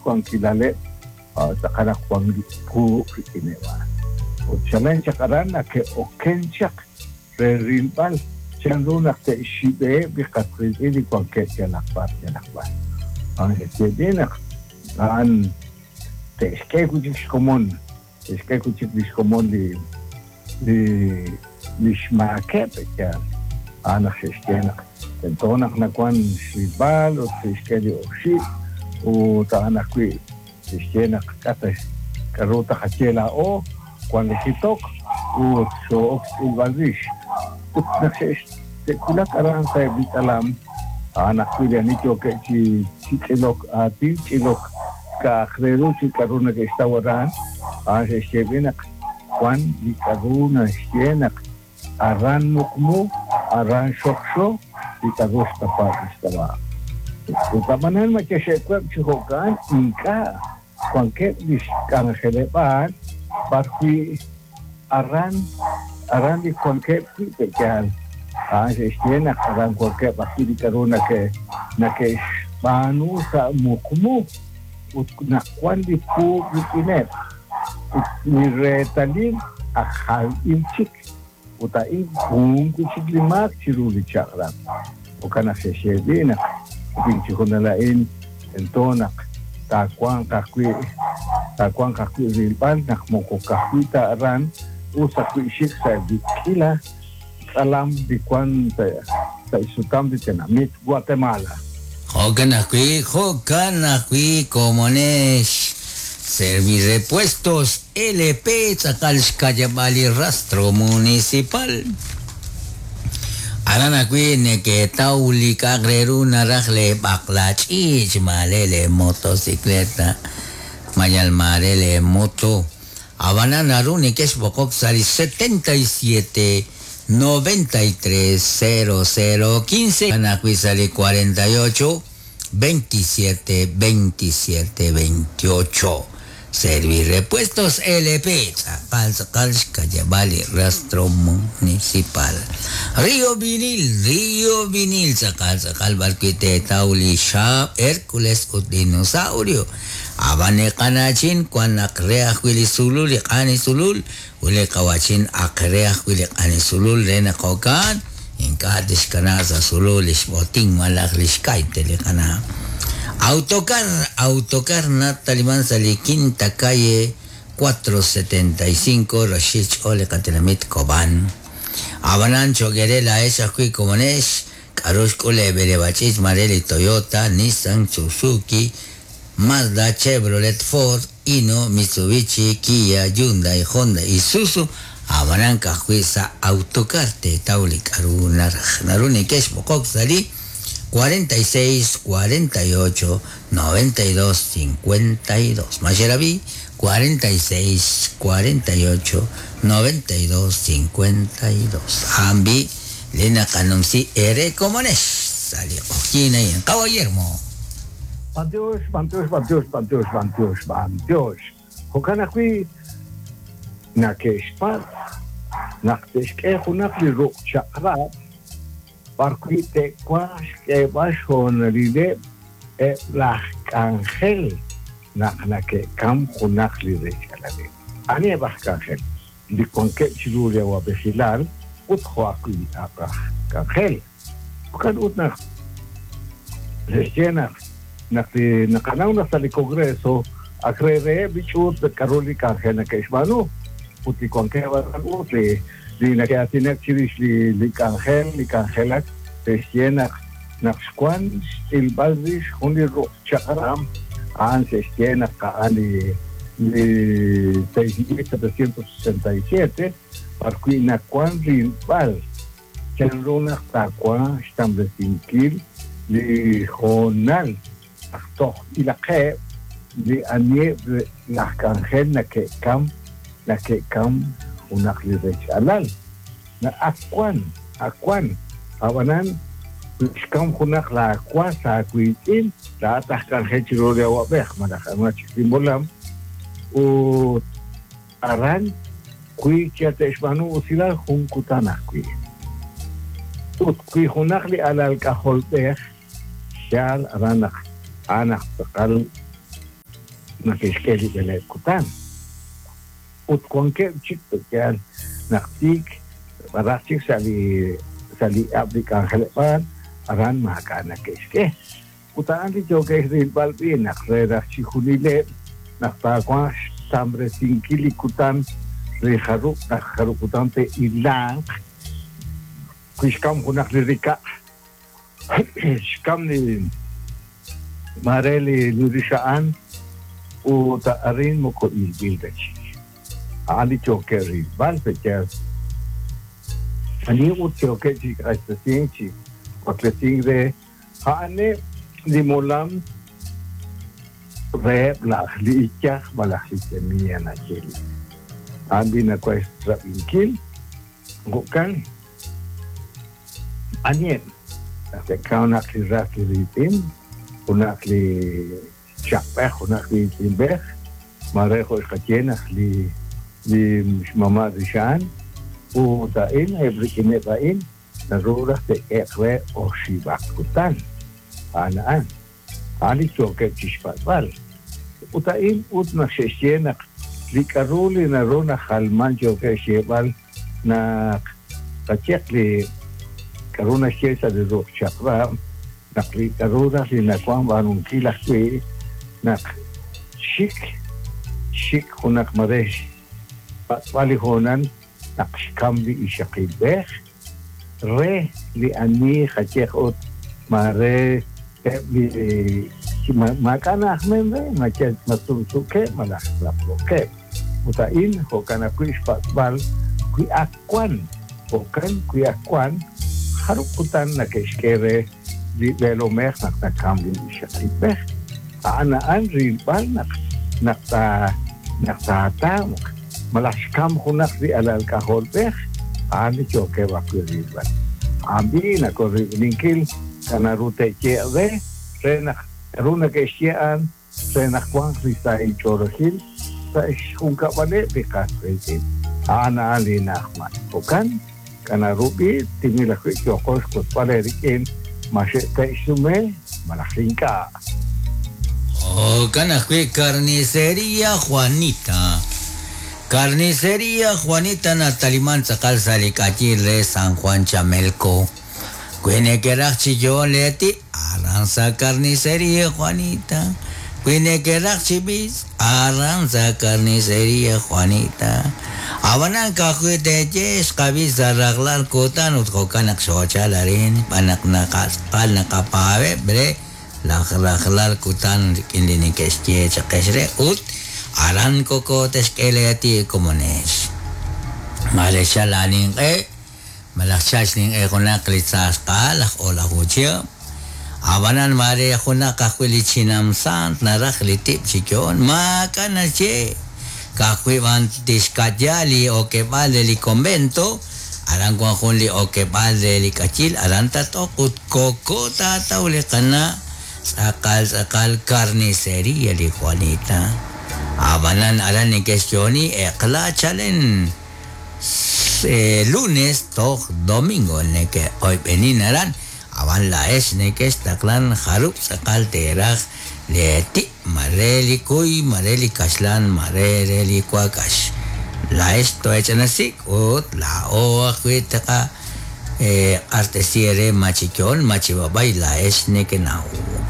xwankilaleb' tz'aqal naq wan li puub' rik'ineb' a'an. Ut chalen chaq aran nake'oken chaq re rilb'al chan ru naq te'xxib'eheb' li qas qiitz'in li wankeb' yalaq b'ar yalaq b'ar. A'an xe'xye naq a'an te'xk'e wi' chik xkomon, te'xk'e wi' chik li xkomon li li li xmaakeb' yaal. A'an naq xe'xye naq tento naq nawan xrilb'al ut te'xk'e li oxib' ut a'an ajwi' xe'xye naq k'a' ta k'a'ru taqaye laa'o, wan li jitok ut xoo'ok xtz'ilb'al rix. Ut naq xe'wulak aran sa'eb' li tz'alam, a'an ajwi' li ani yookeb' chi chi tz'ilok aatin, tz'ilok k'a'aq re ru chi k'a'ru neke'xtaw aran, a'an xe'xye b'i' naq wan li k'a'ru naxye naq aran muqmu, aran xokxo li k'a'ru xtapaak lix k'ab'a'. Ut ab'anan ma yexe'web' chi jo'kan? Ink'a'. Wankeb' lix k'anjeleb'aal b'ar wi' aran aran li wankeb' wi' pe'yaal. A'an xe'xye naq aran wankeb' ajwi' li k'a'ru nake' nake'xb'aanu sa' muqmu ut naq wan li puub' rik'ineb' ut li reetalil ak jalb'il chik ut a'in jun wi' chik li maak chiru li chaq'rab'. Jo'kan naq xe'xye b'i' naq rik'in chi junal a'in tento naq taawanq ajwi' taawanq ajwi' rilb'al naq moko ka'ajwi' ta aran us ajwi' xik sa'eb' li k'iila tz'alam li wan sa' xsutam li tenamit Guatemala. Jo'kan ajwi', jo'kan ajwi' komonex Servirepuestos LP tz'aqal xka'yab'aal li rastro municipal. Aran ajwi' neke'taw li k'a'aq re ru naraj lee b'aqla ch'iich', maare lee motocicleta, mayal maare lee moto. Ab'anan naru nekexb'oqok sa' li 77 93 00 15 a'an ajwi' sa' li 48 27 27 28. Servirepuestos LP, tz'aqal tz'aqal xka'yab'aal li rastro municipal. Rio Vinil, Rio Vinil, tz'aqal tz'aqal b'arwi' teetaw li xaab' Hercules ut Dinosaurio. Ab'an li qana'chin wan naq re ajwi' li sulul, li q'ani sulul, ut li qawa'chin ak re ajwi' li q'ani sulul re naq jo'kan ink'a' tixkana' sa' sulul li xb'otin malaj li xkayte li qana'. Autocar, Autocar nataliman sa' li Quinta Calle 475 roxil xch'ool li qatenamit Cobán. Ab'anan cho'q eere laa'ex ajwi' komonex, K'aru xk'ul leeb'eleb'a ch'iich' maare li Toyota, Nissan, Suzuki, Mazda, Chevrolet, Ford, Hino, Mitsubishi, Kia, Hyundai, Honda, Isuzu, ab'anan ka'ajwi' sa' Autocar teetaw li k'aru naraj. Naru neke'xb'oqok sa' li 46 48 92 52. Ma xerab'i? 46 48 92 52. A'an b'i' Li naqanumsi eere komonex sa' li q'oqyink a'in. Qawa' Guillermo. B'antiox, b'antiox, b'antiox, b'antiox, b'antiox, b'antiox. Jo'kan ajwi' nake'xpatz' naq te'xk'e junaq li ruq' chaq'rab' b'arwi' te'wanq xk'eeb'al xhoonalileb' eb' laj k'anjel naq nake'kamk junaq li rech'alaleb'. Aniheb' aj k'anjel? Li wankeb' chiru li awab'ejilal ut jo' ajwi' li ak' aj k'anjel. Jo'kan ut naq xe'xye naq naq li naqanaw naq sa' li Congreso ak re reheb' li ch'uut k'aru li k'anjel nake'xb'aanu ut li wankeb' aran ut li li nake'aatinak chirix li li k'anjel li k'anjelak xe'xye naq naq xwan xtz'ilb'al rix jun li ruq' chaq'rab' a'an xe'xye naq a'an li li 6767 b'arwi' nawank rilb'al chanru naq taawanq xtamresinkil li hoonal naq tojb'ilaqeb' li aniheb' laj k'anjel nake'kam nake'kam junaq li rech alal. Ak wan, ak wan. Ab'anan, wi xkam junaq laawas aawiitz'in, laa'at aj k'anjel chiru li awab'ej malaj anihaq chik li molam, ut aran wi yal te'xb'aanu usilal jun kutan ajwi'. Ut wi junaq li alal k'ajolb'ej, yaal aran naq a'an aj tz'aqal. Nake'xk'e li b'eleeb' kutan. Ut wankeb' chik pe'yaal naq tiik b'araq chik sa' li sa' li ab' li k'anjeleb'aal aran maak'a' nake'xk'e. Ut a'an li yookeb' rilb'al b'i' naq re raj chijunileb' naq taawanq xtamresinkil li kutan re jarub' naq jarub' kutan te'ilanq wi xkam junaq li rikaq' xkam li maare li rixa'an ut arin moko ilb'il ta chik. A'an li yookeb' rilb'al pe'yaal ani ut yookeb' chi q'axtesink chi waklesink re a'aneb' li molam reheb' laj li iyaj malaj li semilla naxye li a'an li nawaj xrab'inkil. Jo'kan, aniheb' naq te'kaw naq li ras li riitz'in, junaq li chaq'b'ej, junaq li iitz'inb'ej, maare jo' xqaye naq li li xmama' rixa'an, ut a'in eb' rik'ineb' a'in naru raj te'k'ehe'q re oxib'aq kutan. A'an a'an. A'an li yookeb' chixpatz'b'al. Ut a'in ut naq xe'xye naq li k'a'ru li naru najalman yookeb' xyeeb'al naq qayeq li k'a'ru naxye sa' li ruq' chaq'rab' naq li k'a'ru raj li nawan b'aanunkil ajwi' naq xik xik junaq mare xpatz'b'al li hoonal naq xkam li ixaqilb'ej re li ani qayeq ut maare eb' li maak'a' na'ajman re ma yal ma sumsuukeb' malaj laq'lookeb'. Ut a'in jo'kan ajwi' xpatz'b'al wi ak wan, jo'kan wi ak wan, jarub' kutan nake'xk'e re li b'eelomej naq nakam li ixaqilb'ej. A'an a'an rilb'al naq naq naq taatamq malaj xkam junaq li alal k'ajolb'ej, a'an li yookeb' ajwi' rilb'al. A'an b'i' nakorib'ninkil k'a' naru te'ye'q re, re naq k'a'ru nake'xye a'an re naq wanq li sahil ch'oolejil sa' xjunkab'aleb' li qas qiitz'in. A'an a'an li na'ajman. Jo'kan, k'a' naru b'i' timil ajwi' yooqo xwotzb'al eerik'in ma xe'te'xsume malaj ink'a'. Jo'kan ajwi' Carnicería Juanita. Carnicería Juanita nataliman tz'aqal sa' li k'ayiil re San Juan Chamelco. Wi nekeraj chi yo'on lee tib', aran sa' Carnicería Juanita. Wi nekeraj chi b'is, aran sa' Carnicería Juanita. Ab'anan ka'ajwi' teeye xqab'i sa' rajlal kutan ut jo'kan naq xoochal arin xb'aan naq naqatz'aqal naqapaab'eb' re laj rajlal kutan rik'in li neke'xye chaq ex re ut aran koko te'xk'e lee tib' komonex. Maare xchal laaninq'e malaj xchal xninq'e junaq li tzaasqa'al aj o'laju chihab', ab'anan maare junaq ajwi' li chinam saant naraj li tib' chi yo'on, maak'a' naxye, ka'ajwi' b'an tixka'ya li okeb'aal re li convento, aran wan jun li okeb'aal re li k'ayil, aran tat-oq ut koko taataw li qana' tz'aqal tz'aqal carniceria li Juanita. Ab'anan aran neke'xyo'oni eq'la chalen lunes toj domingo neke'oyb'enin aran, ab'an laa'ex nekextaqlan jarub' tz'aqal teeraj lee tib', ma re li kuy, ma re li kaxlan, ma re re li wakax. Laa'ex too'ech'anasik ut laa'o ajwi' taqa q'axtesi eere ma chi yo'on ma chi b'ab'ay laa'ex nekenaw.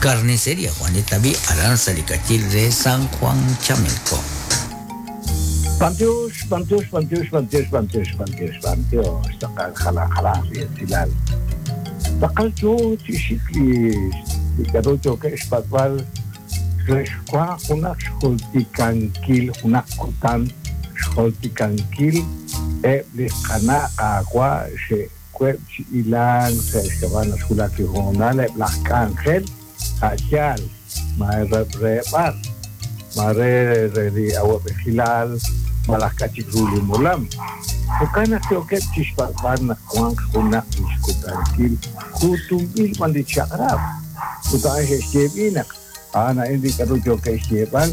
Carnicería Juanita b'i' aran sa' li k'ayil re San Juan Chamelco. B'antiox, b'antiox, b'antiox, b'antiox, b'antiox, b'antiox, b'antiox, tz'aqal jalan jalanq li esilal. Tz'aqal yo chi xik li li k'a'ru yookeb' xpatz'b'al re xwanq junaq xjultikankil junaq kutan xjultikankil eb' li qana' qaawa' xe'web' chi hilank sa' xk'ab'a' naq xwulak li hoonal eb' laj k'anjel a' yaal ma re b'ar, ma re re li awab'ejilal malaj k'a' chik ru li molam. Jo'kan naq yookeb' chi xpatz'b'al naq wanq junaq li xkutankil kuutunb'il b'an li chaq'rab'. Ut a'an xe'xye b'i' naq a'an a'in li k'a'ru yookeb' xyeeb'al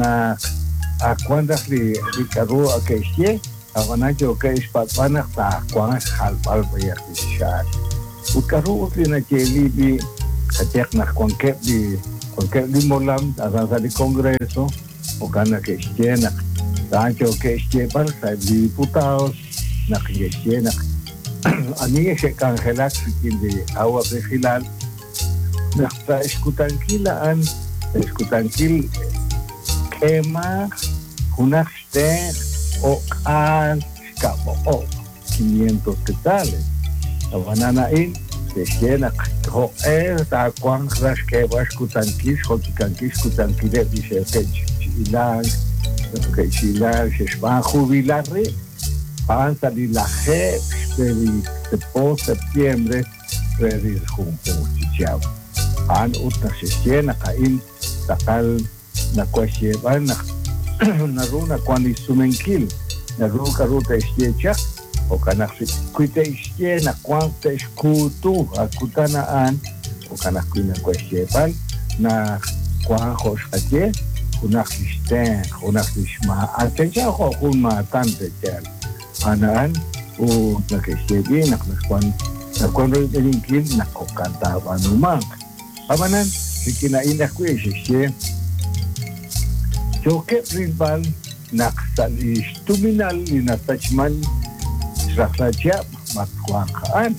naq ak wan raj li li k'a'ru ke'xye, ab'anan yookeb' xpatz'b'al naq taawanq xjalb'al b'ayaq li xxaal. Ut k'a'ru ut li nayeeli b'i' qayehaq naq wankeb' li wankeb' li molam aran sa' li Congreso. Jo'kan nake'xye naq a'an yookeb' xyeeb'al sa'eb' li diputados naq neke'xye naq ani xe'k'anjelak rik'in li awa'b'ejilal naq sa' xkutankil a'an sa' xkutankil k'eemaq junaq xtenq' o'k'aal xkab' 500 quetzales. Ab'anan a'in te'xye naq jo'q'e taawanq raj xk'eeb'al xkutankil xjoltikankil xkutankileb' li xe'ke'chi'ilank ke'chi'ilank xe'xb'aan jubilar rib' a'an sa' li lajeeb' xb'e li po septiembre re li junjunq chi chihab'. A'an ut naq xe'xye naq a'in tz'aqal nawan xyeeb'al naq naru nawan li sumenkil naru k'aru te'xye chaq jo'kan naq wi te'xye naq wanq te'xkuutu a kutan a'an jo'kan ajwi' nawan xyeeb'al naq wanq jo' xqaye junaq li xtenq' junaq li xmaatan chanchan jo' jun maatan te'yal a'an a'an ut nake'xye b'i' naq nawan nawan royb'eninkil naq jo'kan taab'aanumanq. Ab'anan rik'in a'in ajwi' xe'xye yookeb' rilb'al naq sa' li xtuminal li nasachman xrajlal chihab' matwanq a'an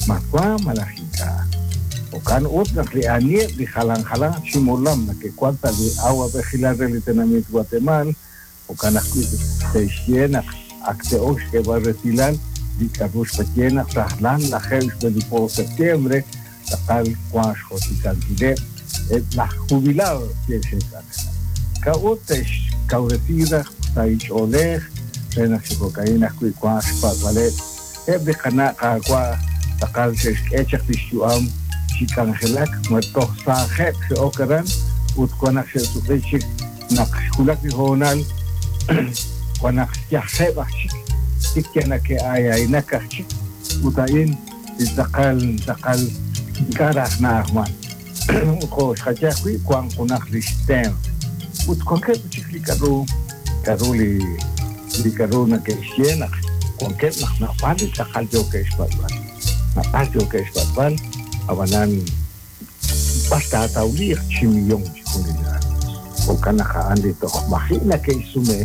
matwanq malaj ink'a'. Jo'kan ut naq li aniheb' li jalan jalan chi molam nake'wan sa' li awa'b'ejilal re li tenamit Guatemala jo'kan ajwi' te'xye naq ak te'ok xk'eeb'al resilal li k'aru xqaye naq rajlal lajeeb' xb'e li po septiembre tz'aqal wank xjoltikankileb' eb' laj jubilados xe'k'anjelak. K'a'ut te'xkawresi raj sa' ch'oolej re naq chi jo'ka'in ajwi' wanq xpatz'b'aleb' eb' li qana' qaawa' tz'aqal xe'xk'e chaq li xyu'am chi k'anjelak ma toj saajeb' xe'ok aran ut wan naq xe'suq'i chik naq xwulak li hoonal wan naq yajeb' aj chik tik yal nake'ayaynak aj chik ut a'in li tz'aqal tz'aqal ink'a' raj na'ajman. Ut jo' xqaye ajwi' wank junaq li xtenq' ut wankeb' chik li k'aru k'aru li li k'aru nake'xye naq wankeb' naq naab'al li tz'aqal yookeb' xpatz'b'al naab'al yookeb' xpatz'b'al ab'anan b'ar taatawliiq chi millón chi junilal. Jo'kan naq a'an li toj maji' nake'xsume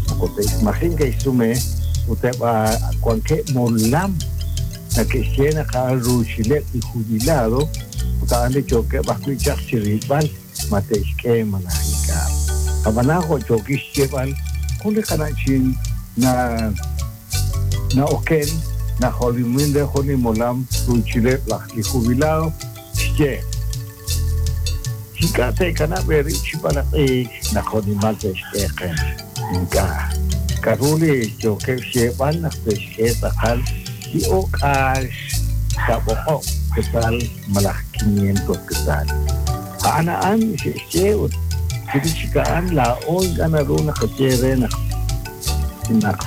moko te'maji' neke'xsume ut eb' wankeb' molam nake'xye naq a'an ruuchileb' li jubilado ut a'an li yookeb' ajwi' chaq chi rilb'al ma te'xk'e malaj ink'a'. Ab'anan jo' yookil xyeeb'al jun li qana'chin na na'oken najolomin re jun li molam ruuchileb' laj li jubilado xye ink'a' te'kanab' eerib' chi b'alaq'iik naq jo'nimal te'xk'e qe ink'a' k'aru li yookeb' xyeeb'al naq te'xk'e tz'aqal li o'k'aal xkab' quetzal malaj 500 quetzal. A'an a'an xe'xye ut chirix chik a'an laa'o ink'a' naru naqaye re naq naq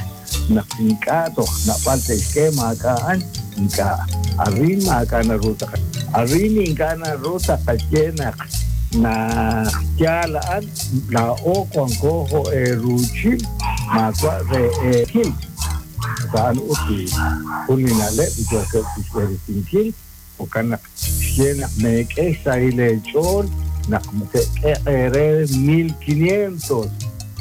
naq ink'a' toj naab'al te'xk'e maak'a' a'an ink'a' arin maak'a' naru taqa arin ink'a' naru taqaye naq naq yaal a'an laa'o wanko jo' eeruuchil maawa' re eekil. A'an ut li jun li na'leb' li yookeb' chixb'eresinkil jo'kan naq xye naq meek'e xsahil eech'ool naq te'k'e eere 1500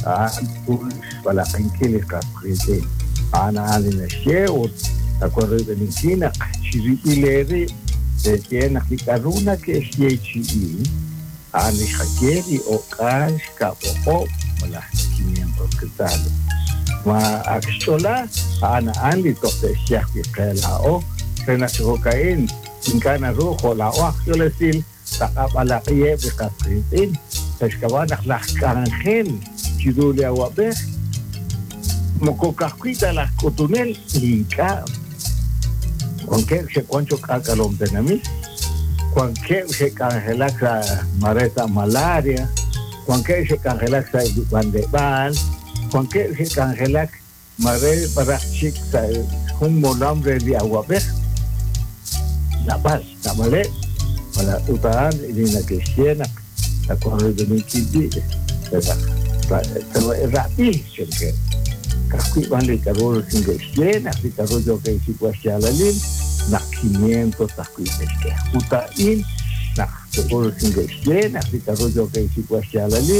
a'an jun xb'alaq'inkil li qas qiitz'in. A'an a'an li naxye ut nawan royb'eninkil naq chirib'il eerib' te'xye naq li k'aru nake'xyeechi'i a'an li xqaye li o'k'aal xkab' o'q'ob' malaj 500 quetzales. Ma ak xch'ola a'an a'an li toj te'xye ajwi' qe laa'o re naq chi jo'ka'in ink'a' naru jo' laa'o aj yolesil taqab'alaq'iheb' li qas qiitz'in sa' xk'ab'a' naq laj k'anjel chiru li awa'b'ej moko ka'ajwi' ta laj k'utunel ink'a' wankeb' xe'wan cho'q k'aak'alom tenamit wankeb' xe'k'anjelak sa' mare sa' malaria wankeb' xe'k'anjelak sa' li b'anleb'aal wankeb' xe'k'anjelak mare b'araj chik sa' jun molam re li awa'b'ej naab'al naab'aleb' malaj ut a'an li nake'xye naq nawan royb'eninkil b'i' rab'i chankeb' ka'ajwi' b'an li k'aru neke'xye naq li k'aru yookeb' xsik'b'al xyaalalil naq 500 ajwi' te'xk'e ut a'in naq neke'xye naq li k'aru yookeb' xsik'b'al xyaalalil.